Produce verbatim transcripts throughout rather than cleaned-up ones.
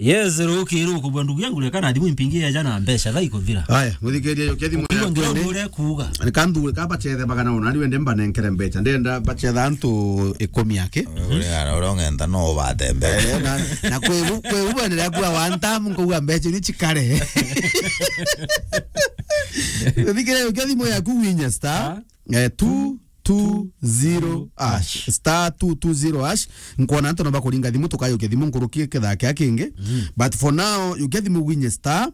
Yes, ruki ruku bwa ndugu yangu, reka na thimu impingi eja na mbeca thaa ikuthira. Aya, muthikiria, yukia thimu yaku indi. Kuuga. Ni kanthuure ka bacethe bagana ona, riu ende mbanenkere mbeca. Ndenda bacetha antu ikumi aki. Uri ara, uri ong'enta no ubate mbeca. Eh, na, na kwi u-, kwi u bwenderea kuuga one time, nkauga mbeca ni cikare. Muthikiria, yukia thimu yaku winye star. Ah. Eh, two two zero hash. Star two two zero hash. Nkwona antu no bakuringa thimu, tukayukia thimu nkuruki kithaa kia kingi. Mm. But for now, yukia thimu winye star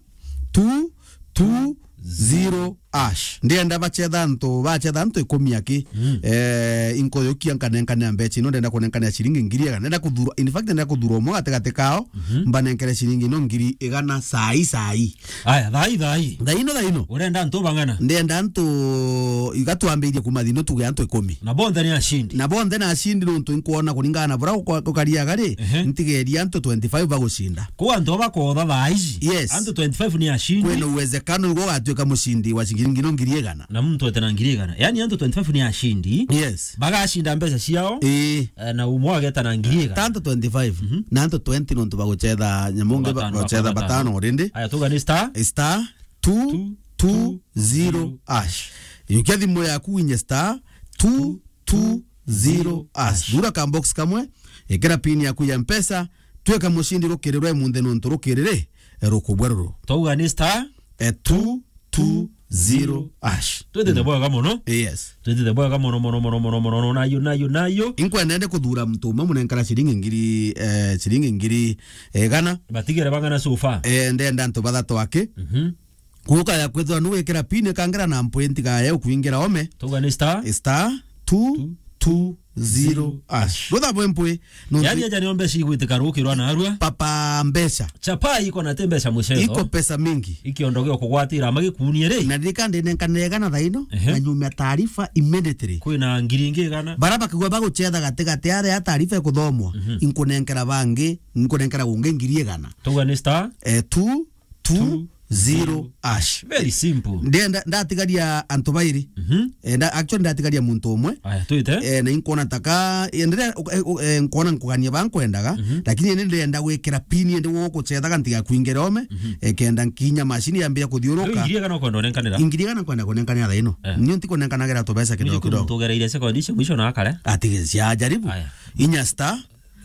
two two zero hash. Ndienda bacetha antu, bacetha antu ikumi aki. Mm. Eh, inkuyukia nkanenkanea mbeca ino, ndenda kunenkanea ciringi ngiri igana. Ndenda kuthura, in fact, ndenda kuthura umwe gatigati kao, mhm, mbanenkere ciringi ino ngiri igana sai, sai. Aya, thai, thai. Thaino, thaino. Urenda antu bang'ana? Ndenda antu, iga twambirie kuma thino tuge antu ikumi. Na bonthe ni ashindi? Na bonthe ni ashindi nontu inkwona kuringana na bura uko-, ukariaga ri, ehe, ntigeria antu twenty-five bagucinda. Kwa antu aba kootha thaa ici? Yes. Antu twenty-five ni ashindi? Kwina uwezekano igo ugatuika mucindi wa ciringi no ngiri igana. Na muntu ete na ngiri igana. Yaani antu twenty-five ni ashindi? Yes. Bagacinda mbeca ciao? Ii. Eh, na umwe ageta na ngiri igana. Ta antu twenty-five. Mhm. Na antu twenty nontu bagucetha nyamu ngi ba-, batano, bagucetha batano. Batano already. Aya, tuga ni star? Star two two zero hash. Yukia thimu yaku winye star two two zero hash. Thura ka box kamwe, ikira pin yaku ya Mpesa, twika mucindi rukiri rwe munthe nontu rukiri ri, rukubwa ruru. Twauga ni star? Eh, two two zero hash. Twitite bwega mono. Yes. Twitite bwega mono, mono, mono, mono, mono, nayo, nayo, nayo. Inkwenda ende kuthura muntu umwe munenkara ciringi ngiri, eh, ciringi ngiri, eh, igana. Batigere bang'ana so far? Eh, ndenda antu bathatu aki. Mhm. Kuuka ya kwithirwa nugwikira pin ikangira na mpwi ntiga ya ukwingira ome. Tuga ni star? Star two two zero hash. Rutha bwe mpwi. Nontu yaani aja nio mbeca igwitika rukirwa narua. Papa mbeca. Chapa iko na te mbeca mucetho. Iko pesa mingi. Ikiondo gio kugwatira magikunie ri. Na ririka ndinenkanire igana thaino, ehe, na nyumia taarifa immediately. Kwina ngiri ingi igana. Bara bakigwa bagucetha gatigati aria taarifa ikuthomwa. Mhm. Inkunenkera bangi, inkunenkera gungi ngiri igana. Tuga ni star? Eh, two two zero hash. Very simple. Ndenda, ndatigaria antu bairi. Mhm. Eh, nda-, actually, ndatigaria muntu umwe. Aya, twite. Eh, na inkwona taka, eh, ndire, eh, eh, nkwona nkugania ba nkwendaga, mhm, lakini indi ndenda gwikira pin indi gugucethaga ntiga kwingire ome, mhm, eh, kenda nkinya machine yambia kuthiuruka. Riu ngiri igana ukwenda unenkanira? Ngiri igana nkwenda kunenkanira thaa ino. Eh. Nio ntikunenkanagera tubesa kidogo kidogo. Tugereire sekondi cia mwisho na akare. Ati cia jaribu. Aya. Inya star.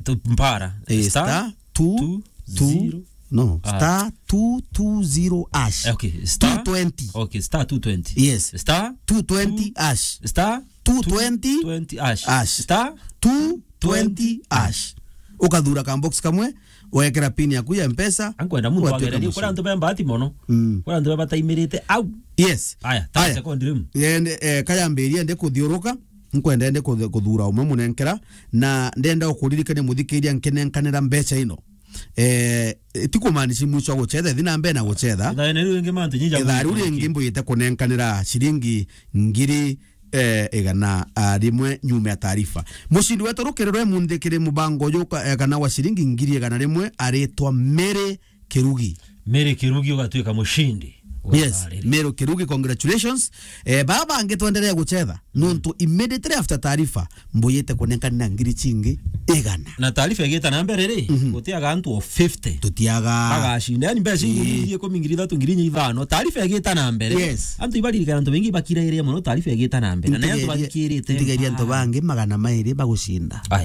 Tu-, mpara. Eh, star, star two two, two, zero. No, ah, star two two zero hash. Eh, okay, star two twenty. Okay, star two twenty. Yes. Star two twenty hash. Star two twenty hash. Hash. Star two twenty hash. Ukathura ka box kamwe, wekera pin yaku ya Mpesa. Ankwenda muntu agererie, kuri antu be mbati mono. Mm. Kuri antu be bataimirite au. Yes. Aya, ta sekondi riu. Yende, eh, kayambiria ende kuthiuruka. Nkwenda ende kuthe-, kuthura umwe munenkera, na ndenda ukuririkania muthikiria nkinenkanira mbeca ino. Eh, ti kumaanisha mwisho wa gucetha, thi na mbere na gucetha. Ithaa riu ringi mantu nyinja. Ithaa riu ringi mbwite kunenkanira ciringi ngiri, eh, igana, ah, rimwe nyuma ya taarifa. Mucindi wetu rukiri rwe munthi kiri mubango uyu ka-, eh, kana wa ciringi ngiri igana rimwe aritwa Mary Kirugi. Mary Kirugi ugatuika mucindi. Yes, Mary Kirugi, congratulations. Eh, baba bangi twendelee gucetha. Nontu immediately after taarifa, mbuyite kunenkanira ngiri cingi igana. Na taarifa igita na mbere ri, mhm, gutiaga antu o fifty. Tutiaga. Bagacinda, yani mbeca ingi, ii, ngiri ikumi, ngiri ithatu, ngiri inya ithano. Taarifa igita na mbere. Yes. Antu ibaririkana antu baingi bakirairia mono taarifa igita na mbere. Na ni antu bathikirite. Ntigeria antu bangi magana mairi bagucinda. Aya.